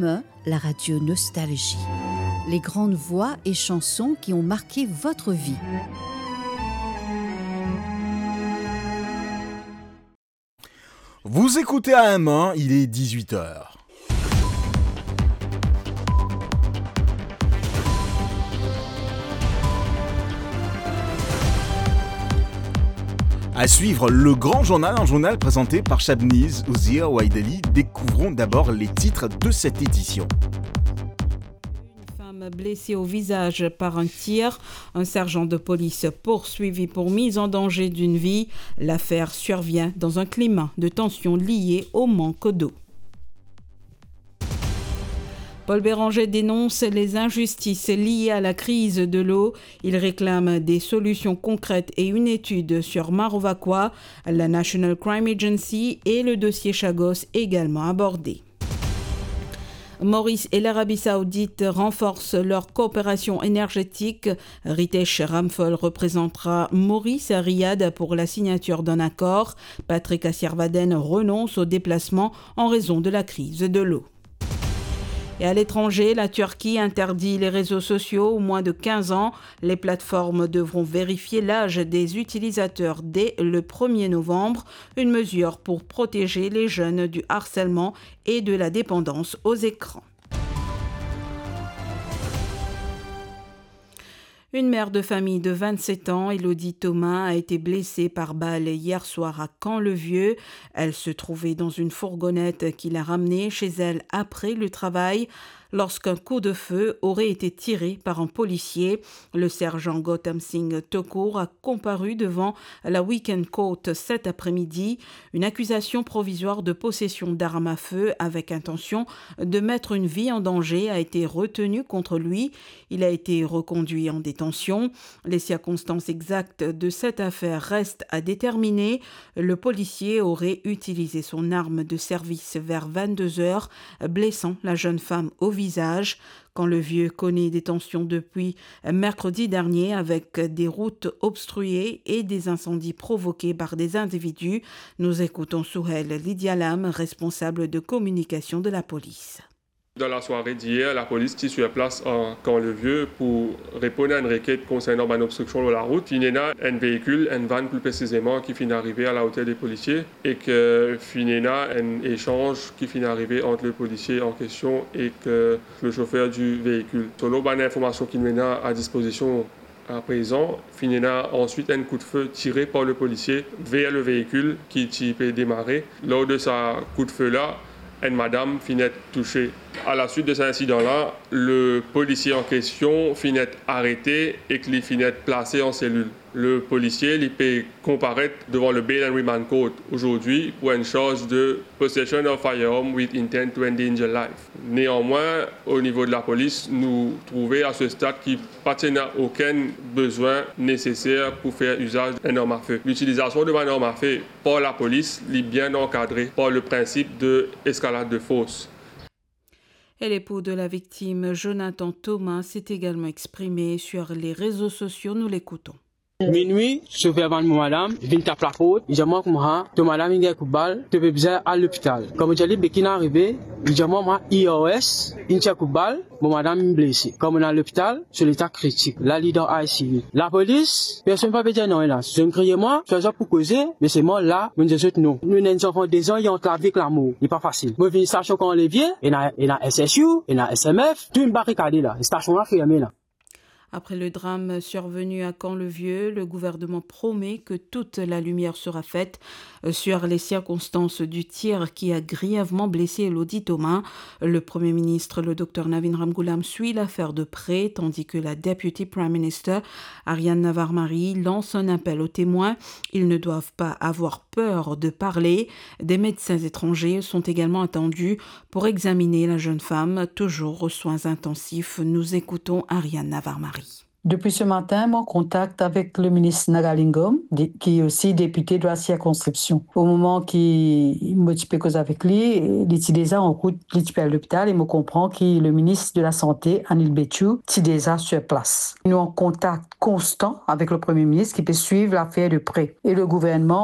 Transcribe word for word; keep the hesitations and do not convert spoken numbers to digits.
La radio Nostalgie. Les grandes voix et chansons qui ont marqué votre vie. Vous écoutez A M un, il est dix-huit heures. À suivre, le grand journal, un journal présenté par Shabniz Ouzir Waideli. Découvrons d'abord les titres de cette édition. Une femme blessée au visage par un tir. Un sergent de police poursuivi pour mise en danger d'une vie. L'affaire survient dans un climat de tension lié au manque d'eau. Paul Bérenger dénonce les injustices liées à la crise de l'eau. Il réclame des solutions concrètes et une étude sur Maro Vacoa. La National Crime Agency et le dossier Chagos également abordés. Maurice et l'Arabie Saoudite renforcent leur coopération énergétique. Ritesh Ramphal représentera Maurice à Riyad pour la signature d'un accord. Patrick Assiarvaden renonce au déplacement en raison de la crise de l'eau. Et à l'étranger, la Turquie interdit les réseaux sociaux aux moins de quinze ans. Les plateformes devront vérifier l'âge des utilisateurs dès le premier novembre, une mesure pour protéger les jeunes du harcèlement et de la dépendance aux écrans. Une mère de famille de vingt-sept ans, Elodie Thomas, a été blessée par balle hier soir à Camp-le-Vieux. Elle se trouvait dans une fourgonnette qui l'a ramenée chez elle après le travail lorsqu'un coup de feu aurait été tiré par un policier. Le sergent Gautam Singh Thakur a comparu devant la Weekend Court cet après-midi. Une accusation provisoire de possession d'armes à feu avec intention de mettre une vie en danger a été retenue contre lui. Il a été reconduit en détention. Les circonstances exactes de cette affaire restent à déterminer. Le policier aurait utilisé son arme de service vers vingt-deux heures, blessant la jeune femme au visage. Camp-le-Vieux connaît des tensions depuis mercredi dernier avec des routes obstruées et des incendies provoqués par des individus. Nous écoutons Souhel Lidialam, responsable de communication de la police. Dan lasware diyer, lapolis ti sir plas a Camp-le-Vieux pou reponn a enn reket konsernan bann obstriksion lor larout. Finn ena enn veikil, enn vann pli presizeman, ki finn arive a laoter de polisie ek finn ena enn esanz ki finn arive ant le polisier an kestion ek le sofer di veikil. Selon bann informasion ki nou ena a dispozision aprezan, finn ena answit enn koudfe tire par le polisier ver le veikil ki ti pe demare. Lor de sa koudfe la, enn madam finn et touse. A laswit de sa insidan la, le polisier an kestion finn et arete ek li finn et plase an selil. Le polisier, li pe konparet devan le Bail and Remand Court azordi pou enn sarz de possession of firearm with intent to endanger life. Neanmwin, o nivo de lapolis, nou trouve a se stad ki pa ti ena okenn bezwin neseser pou fer izaz enn arm a fe. Litilizasion de bann arm a fe par lapolis, li bien ankadre par le prinsip de eskalad de fors. Et l'époux de la victime, Jonathan Thomas, s'est également exprimé sur les réseaux sociaux. Nous l'écoutons. Minwi, sofer vann mo madam, vinn tap laport, li dir mwa koumsa, to madam inn gagn kout bal, to pe bizin al lopital. Kan mo dir li be ki'nn arive, li dir mwa, mwa, I R S inn tir kout bal, mo madam inn blese. Kan mo'nn al lopital, so leta kritik. La li dan I C U. Lapolis, personn pa pe dir nanye la. Zot inn kriye mwa, swa zot pou koze, me selman la, mo'nn dir zot non. Nou ena enn zanfan de zan, li ant lavi ek lamor. Li pa fasil. Mo vinn stasion Camp-le-Vieux, ena, ena S S U, ena S M F, tou inn barikade la. Stasion la ferme la. Après le drame survenu à Camp-le-Vieux, le gouvernement promet que toute la lumière sera faite, euh, sur les circonstances du tir qui a grièvement blessé Elodie Thomas. Le Premier ministre, le docteur Navin Ramgoolam, suit l'affaire de près, tandis que la Deputy Prime Minister, Ariane Navarmari, lance un appel aux témoins. Ils ne doivent pas avoir peur de parler. Des médecins étrangers sont également attendus pour examiner la jeune femme, toujours aux soins intensifs. Nous écoutons Ariane Navarmari. Depuis ce matin, mon contact avec le ministre Nagalingam, dé-, qui est aussi député de la circonscription. Au moment ki mo ti pe koz avek li, li ti deza an rout, li ti pe al lopital e mo konpran ki le ministre de la Santé, Anil Bechoo, ti deza sur place. Nou an kontak konstan avek le Premier ministre ki pe swiv lafer de pre. E le gouvernman